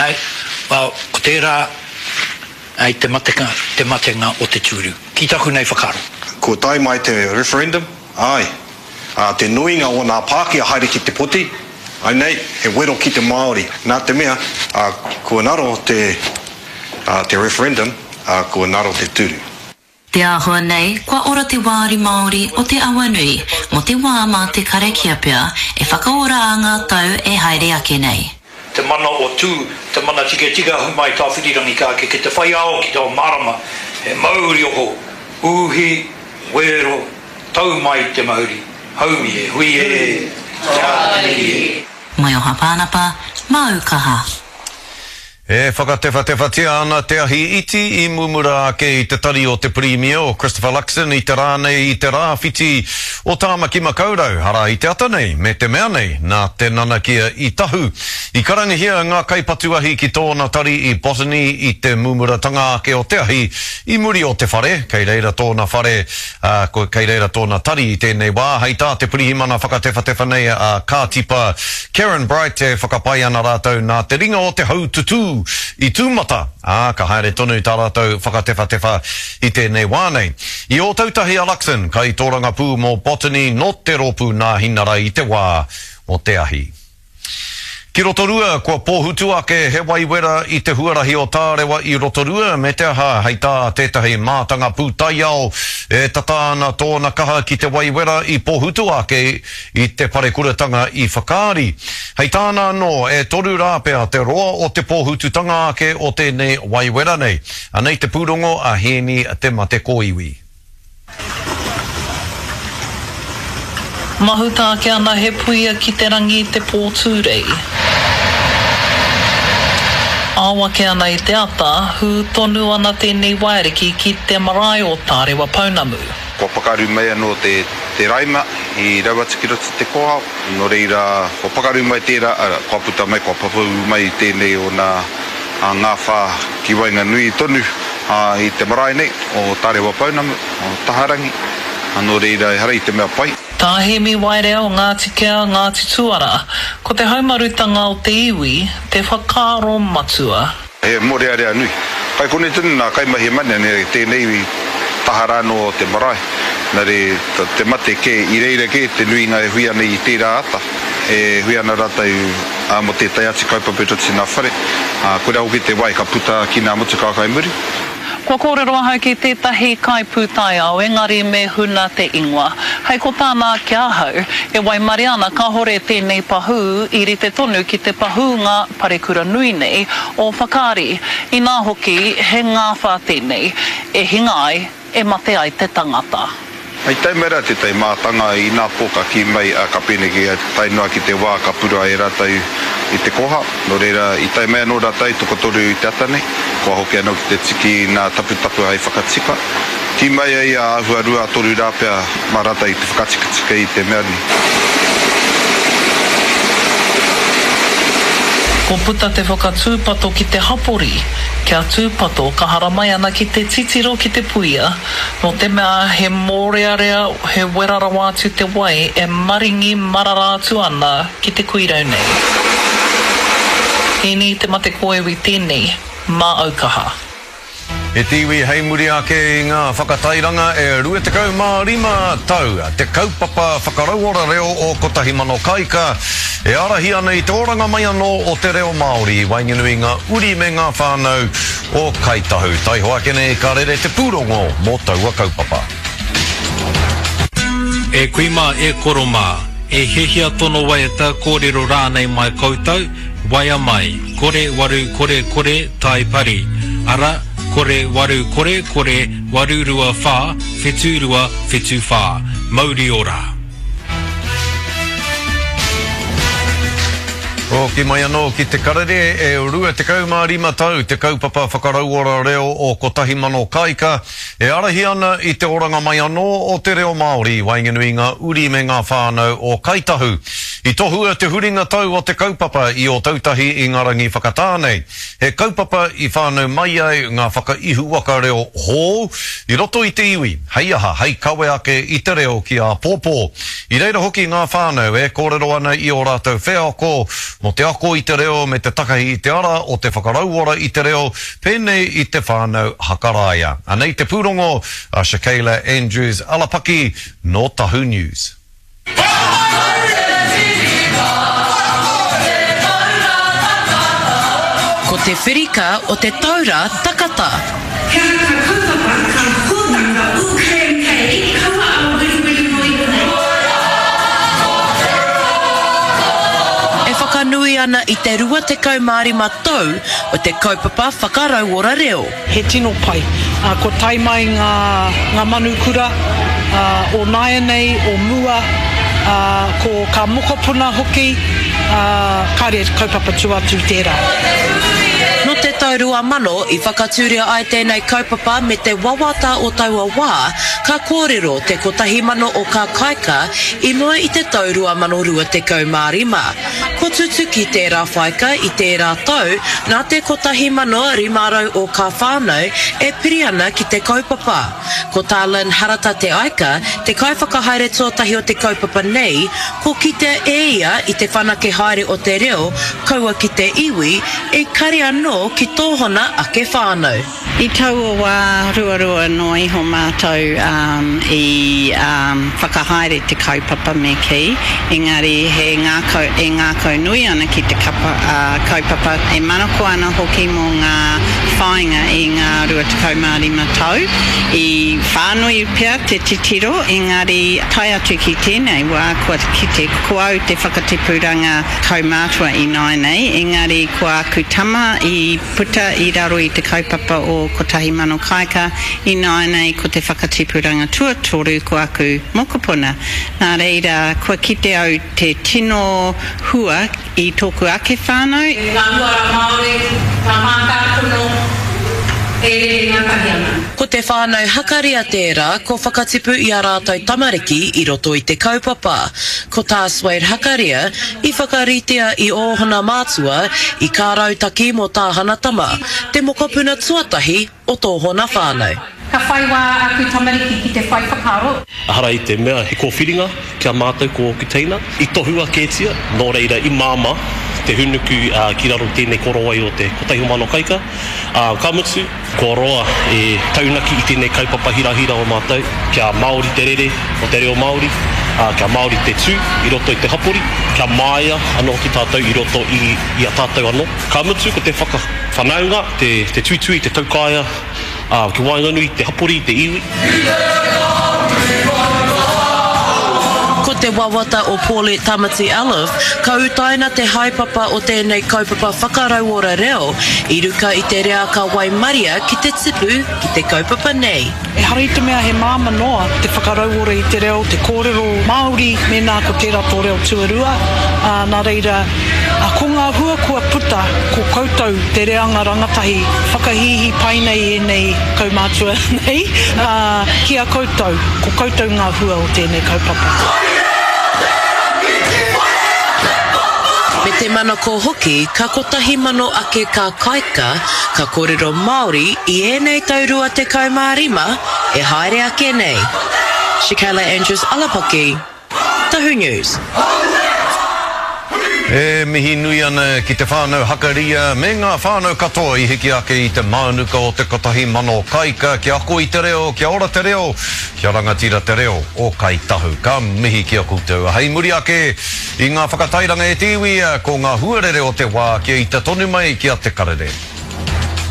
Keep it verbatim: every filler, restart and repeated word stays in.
Ai, well, ko tērā ai te matenga, te matenga o te tūru. Ki taku nei whakaaro. Kua tae mai te referendum, āe, ā, te nuinga o nā Pākehā haere ki te poti, ai nei, he wero ki te Māori. Nā te mea, ā, kua ngaro te, ā, te referendum, ā, kua ngaro te tūru. Te āhua nei, kua ora te wāri Māori o te Awanui mō te wā mā te karakia pea e whakaora ā ngā tau e haere ake nei. Te mana o Tū, te mana tiketika ahu mai Tāwhirirangi ka ake ki te whai ao ki te ao mārama, he mauri oho, uhi, wero, tau mai te mauri, haumi e hui e, te āta mihi e. Maioha Pānapa, māu kaha. E whakatewhatewhatia ana te ahi iti i mumura ake i te tari o te Pirimia o Christopher Luxon i te rā nei i te rāwhiti o Tāmaki Makaurau, arā i te ata nei, me te mea nei, nā te nanakia i tahu. I karangahia ngā kaipatu ahi ki tōna tari i Botany i te mumuratanga ake o te ahi i muri o te whare, kei reira tōna whare, ā, kei reira tōna tari i tēnei wā, hei tā te pirihimana whakatewhatewha nei a Kātipa Karen Bright e whakapae ana rātou nā te ringa o te haututū i tūmata, ā, ka haere tonu tā rātou whakatewhatewha i tēnei wā nei. I Ōtautahi a Luxon, kaitōrangapū mō Botany nō te rōpū Nāhinara i te wā o te ahi. Ki Rotorua, kua pōhutu ake he wai wera i te huarahi o Tārewa i Rotorua, me te aha, hei tā tētahi mātanga pūtaiao, e tata ana tōna kaha ki te wai wera i pōhutu ake i te parekuratanga i Whakaari. Hei tāna anō, e toru rā pea te roa o te pōhututanga ake o tēnei wai wera nei. Anei te pūrongo a Hēni Te Mate Kōiwi. Mahuta ake ana he puia ki te rangi i te pō Tūrei. Ao ake ana i te ata, hū tonu ana tēnei waiariki ki te marae o Tārewa Pounamu. Kua pakaru mai anō te te raima i rau atu ki roto i te kōhao, nō reira kua pakaru mai tērā, arā, kua puta mai, kua papau mai tēnei o nā ngāwhā ki waenganui tonu i te marae nei o Tārewa Pounamu, o Taharangi, nō reira ehara i te mea pai. Tā Hēmi Waerea o Ngāti Kea, Ngāti Tuara, ko te haumarutanga o te iwi te whakaaro matua. He mōrearea nui. Kai konei tonu nā kaimahi e mane ana i tēnei iwi taha rānō o te marae. Nā reira, te mate kē, i reira kē te nuinga e hui ana i tērā ata. E hui ana rātou mō tētahi atu kaupapa i roto i ngā whare. Koirā hoki te wai ka puta ki ngā motukā kai muri. Kua kōrero ahau ki tētahi kaipūtaiao engari me huna te ingoa. Hei ko tāna ki ahau, e waimarie ana kāhore tēnei pahū i rite tonu ki te pahūnga parekura nui nei o Whakaari. Inā hoki, he ngāwhā tēnei, e hinga ai, e mate ai te tangata. I tae mai rā tētahi mātanga inapō ka kī mai, ā, ka pēneki ai, tae noa ki te wā ka purua e rātou i te koha. Nō reira, i tae mai anō rātou tokotoru i te ata nei, kua hoki anō ki te tiki i ngā taputapu hei whakatika. Kī mai ai a āhua rua, toru rā pea mā rātou i te whakatikatika i te mea nei. Kua puta te whakatūpato ki te hapori, kia tūpato ka haramai ana ki te titiro ki te puia, nō te mea he mōrearea, he wera rawa atu te wai e maringi marara atu ana ki te kuirau nei. Hēni te mate kōiwi tēnei, mā aukaha. E te iwi hei muri ake i ngā whakatairanga e rua tekau mā rima tau te kaupapa whakarauora reo o Kotahi Mano Kāika e ārahi ana i te oranga mai anō o te reo Māori i waenganui i ngā uri me ngā whānau o Kāi Tahu. Taihoa ake nei ka rere te pūrongo mō taua kaupapa. E kui mā, e koro mā, e hiahia tono waiata, kōrero rānei mai koutou, waea mai, kore waru kore kore tai pari, ara, kore waru kore kore waru rua whā, whetū rua, whetū whā. Mauri ora! Hoki mai anō ki te karere, e rua tekau mā rima tau te kaupapa whakarauora reo o Kotahi Mano Kāika e ārahi ana i te oranga mai anō o te reo Māori i waenganui i ngā uri me ngā whānau o Kāi Tahu. I tohua te huringa tau o te kaupapa i Ōtautahi i ngā rangi whakatā nei. He kaupapa i whānau mai ai ngā whakaihuwaka reo hou i roto i te iwi, hei aha, hei kawe ake i te reo ki āpōpō. I reira hoki ngā whānau e kōrero ana i ō rātou wheako mō te te ako i te reo me te takahi i te ara o te whakarauora i te reo, pēnei i te whānau Hakaraia. Anei te pūrongo a Shakayla Andrews Alapaki nō Tahu News. Ko te whirika o te taura takata. He aha ka kaupapa, ka hōtaka U K M K, kaua a weriweri noa iho nei. E whakanui ana i te rua tekau mā rima tau o te kaupapa whakarauora reo. He tino pai. Uh, ko tae mai ngā, ngā manukura uh, o nāianei, o mua, uh, ko ka mokopuna hoki, uh, kāre kaupapa tuatu tērā. Nō te tau rua mano i whakatūria ai tēnei kaupapa me te wawata o taua wā, ka kōrero te kotahi mano o kā kaika i mua i te tau rua mano rua tekau mā rima. Ko tutuki tērā whaika i tērā tau nā te kotahi mano rima rau o kā whānau e piri ana ki te kaupapa. Ko tā Lynn Harata Te Aika, te kaiwhakahaere tuatahi o te kaupapa nei, ko kitea e ia i te whanake haere o te reo, kaua ki te iwi, e kare anō ki tōhona ake whānau. I taua wā ruarua noa iho mātou um, i um, whakahaere te kaupapa me kī, engari he ngākau, e ngākau nui ana ki te kapa, uh, kaupapa, e manako ana hoki mō ngā whāinga i ngā rua tekau mā rima tau. I whānui pea te titiro, engari tae atu ki tēnei wā kua kite ko au te whakatipuranga kaumātua i nāianei, engari ko aku tama i puta i raro i te kaupapa o Kotahi Mano Kaika, i nāianei ko te whakatipuranga tuatoru ko aku mokopuna. Nā reira, kua kite au te tino hua i tōku ake whānau. Ngā uara Māori, ngā mātāpono e rere ngātahi ana. Ko te whānau Hakaria tērā ko whakatipu i a rātou tamariki i roto i te kaupapa. Ko tā Suede Hakaria i whakaritea i ōhona mātua i kā rautaki mō tāhana tama, te mokopuna tuatahi o tōhona whānau. Ka whai wā aku tamariki ki te whai whakaaro. Ehara i te mea he kōwhiringa ki a mātou ko ōku teina. I tohua kētia, nō reira i māmā te hunuku uh, ki raro tēnei korowai o te kotahi mano kaika. Uh, ka mutu, kua roa e taunaki i tēnei kaupapa hirahira o mātou, kia Māori te rere o te reo Māori, uh, kia Māori te tū i roto i te hapori, kia māia anō ki tātou i roto i, i a tātou anō. Ka mutu, ko te whakawhanaunga, te, te tuitui, te taukaea, uh, ki waenganui, te hapori, te iwi. Ko te wawata o Paulette Tamati Alif, ka utaina te haepapa o tēnei kaupapa whakarauora reo, i ruka i te rea ka waimaria ki te tipu ki te kaupapa nei. Ehara i te mea he māma noa te whakarauora i te reo, te kōrero Māori, mēnā ko tērā tō reo tuarua. Uh, nā reira, uh, ko ngā hua kua puta, ko koutou te reanga rangatahi, whakahīhī pai nei ēnei kaumātua nei, uh, ki a koutou, ko koutou ngā hua o tēnei kaupapa. Me te manako hoki, ka kotahi mano ake ka kaika, ka kōrero Māori i ēnei tau rua tekau mā rima e haere ake nei. Shakayla Andrews Alapaki, Tahu News. E mihi nui ana ki te whānau Hakaria me ngā whānau katoa i hiki ake i te mānuka o te kotahi mano kaika kia ako i te reo, kia ora te reo, kia rangatira te reo o Kai Tahu. Ka mihi ki a koutou. Hei muri ake i ngā whakatairanga e te iwi, ko ngā huarere o te wā kia ita tonu mai ki a Te Karere.